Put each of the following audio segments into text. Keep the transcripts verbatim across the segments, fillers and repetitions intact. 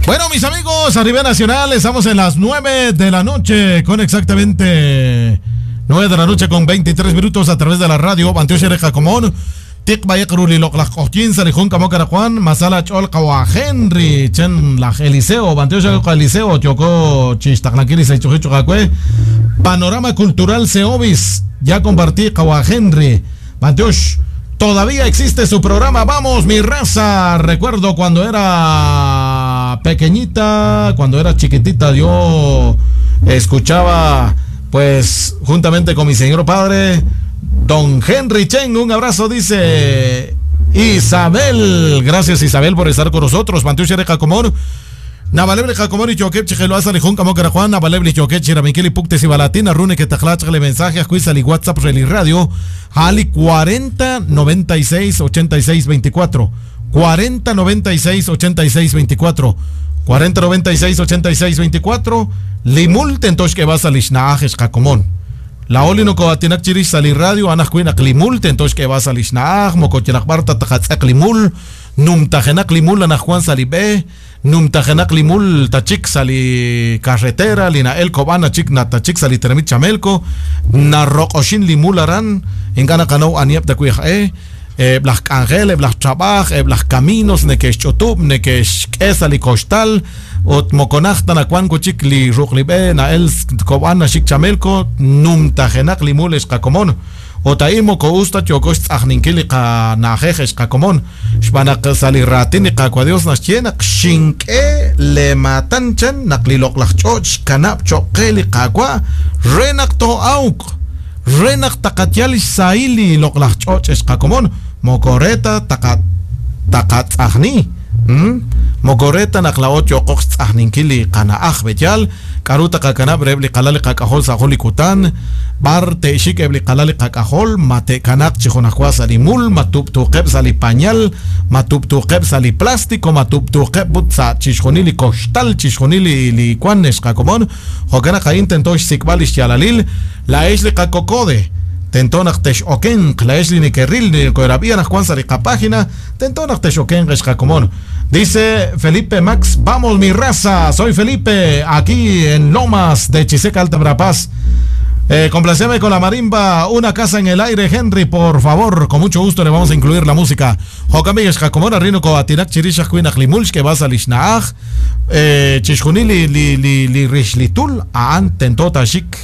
Bueno, mis amigos, a nivel nacional estamos en las nueve de la noche, con exactamente nueve de la noche con veintitrés minutos a través de la radio Bantiox re qakomon. Tik bayekru li loqlaj q'oqyin sa li jun k'amok anaqwan Masala ch'ol qawa Henry chen laj Eliseo Bantiox Eliseo yoko chixtaqlankil sa ichujichu qakwe Panorama Cultural Seobis ya compartí qawa Henry Bantiox. Todavía existe su programa Vamos mi raza. Recuerdo cuando era pequeñita, cuando era chiquitita, yo escuchaba pues juntamente con mi señor padre, don Henry Chen. Un abrazo, dice Isabel. Gracias, Isabel, por estar con nosotros. Bantiox re qakomon. Nabalebli qakomon y choquep chijeloasa lijun kamokara Juan. Nabalebli choquep chiramikili puktes y balatina rune que tajlachale mensaje a li WhatsApp reli radio Ali cuarenta noventa y seis ochenta y seis veinticuatro cuarenta noventa y seis ochenta y seis veinticuatro cuarenta noventa y seis ochenta y seis veinticuatro limul tentosh que vas a lishnaaj qakomon. La oli no koatinak chirish sali radio anajkuinak limul tentosh que vas a lishnaaj mokotinakbarta tajatzak limul numtajenak limul anajjuan salibe numtajenak limul tachik sali carretera lina el kobana chik na tachik sali tenemit chamelko narroqoshin limul aran ingana kano aniep takuij e blaj angel blaj trabaj blaj caminos nekesh chotub nekesh sali costal ot mokonaj tanakuan kuchik li ruqlibe na el kobana chik chamelko numtajenak limul esqakomon Otaimo ko usta chokosh tzajninkili qa najeje xqakomon xb'anaq sali ratin qakwadios naxye naq xink'e le matanchan naq li loqlaj ch'och xkanab' choqe li qakwa re naq to'awq re naq taqatyal xsahil li loqlaj ch'och xqakomon mokoreta taqa taqatz'ajni mokoreta naq la'ot yoqoq xtz'ajninkil li qana'aj b'eyal k'aru taqakanab' reb' li qalal li qak'ajol sa' jun li kutan bar te'xik eb' li qalal li qak'ajol ma te'kanaq chi junajwa sa' li mul ma tub'tuqeb' sa' li pañal ma tub'tuqeb' sa' li plástico ma tub'tuqeb' ut sa' chixjunil li koxtal chixjunil li li kuan xqakomon jo'kan naq a'in tento xsik'b'al li xyaalalil la'ex li qakokode tento naq texokenq la'ex li nekeril li koerab'i anajwan sa' li qapágina tento naq texokenq xqakomon. Dice Felipe Max, vamos mi raza, soy Felipe, aquí en Lomas de Chiseca, Alta Verapaz. Eh, complaceme con la marimba, una casa en el aire, Henry, por favor, con mucho gusto le vamos a incluir la música. Jokamig xqakomon rino ko atinak chirishaj kuinaq limulx que vas a lishnaaj, eh, chixjunil li li li li rixlitul, a'an tento taxik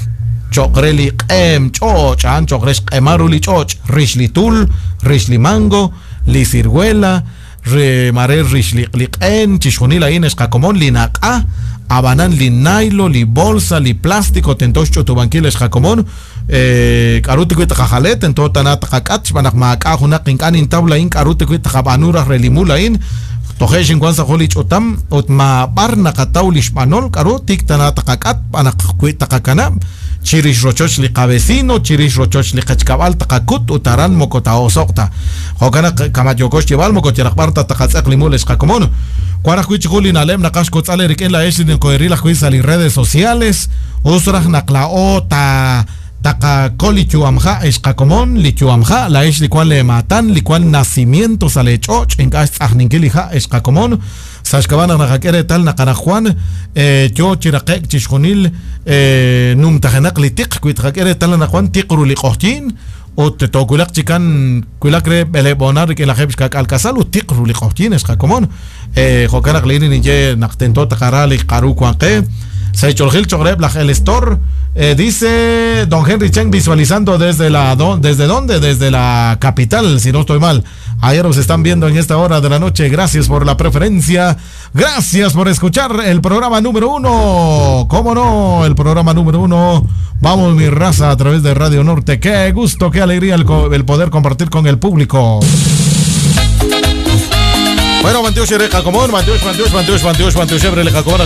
choqre li q'em ch'och, a'an choqre xq'emaru li ch'och, rixlitul, rixlimango, li ciruela, re mare rixliqliq'en, chixjunil a'in xqakomon li naq'a, abanan li nailo, li bolsa, li plástico, tento xch'utubankil xqakomon, eh, k'aru tikuy taqajale, tento tana taqak'at, xb'aan naq maak'a junaq ink'a' nintaw la'in k'aru tikuy taqab'anu raj re limul a'in, toje' xinkuan sa' jun li ch'utam, ut mab'ar naqataw li xb'anol, k'aru tik tana taqak'at, b'aan naq kui taqakanab', chirix rochoch li qavecino, chirix rochoch li qachkab'al taqakut, ut aran moko ta'osoqta. Jo'kan naq kamayoko xyeb'al moko yaraqb'ar ta taqatz'eq limul xqakomon. Wan ajwi' chi jun li na'leb' naqaj xkotz'al rik'in la'ex li nkoeril ajwi' sa' li redes sociales, us raj naq la'o ta taqakol li yu'amja' xqakomon, li yu'amja' la'ex li kuan le matan, li kuan nacimiento sa' le ch'och, ink'a' xtz'ajninkil li ja' xqakomon. Sa' xk'ab'a' naq naqak'e reetal naq anajwan yo chiraqek chixjunil numtajenaq li tiq wi taqak'e reetal anajwan tiq ru li q'oqyin ut toowilaq chikan wilaq re b'eleb'onar rik'in lajeb' xkak'al kasal ut tiq ru li q'oqyin xqakomon. Jo'kan naq li'in ninye naq tento taqara li qaru wan qe. Sa' ch'oljil choqreb' laj El Store, eh, dice don Henry Chen visualizando desde la do, ¿desde dónde? Desde la capital, si no estoy mal. Ayer nos están viendo en esta hora de la noche. Gracias por la preferencia. Gracias por escuchar el programa número uno. ¿Cómo no? El programa número uno. Vamos mi raza a través de Radio Norte. Qué gusto, qué alegría el, el poder compartir con el público. Bueno, Bantiox re qakomon, Bantiox, Bantiox, Bantiox, Bantiox, Bantiox, re qakomon,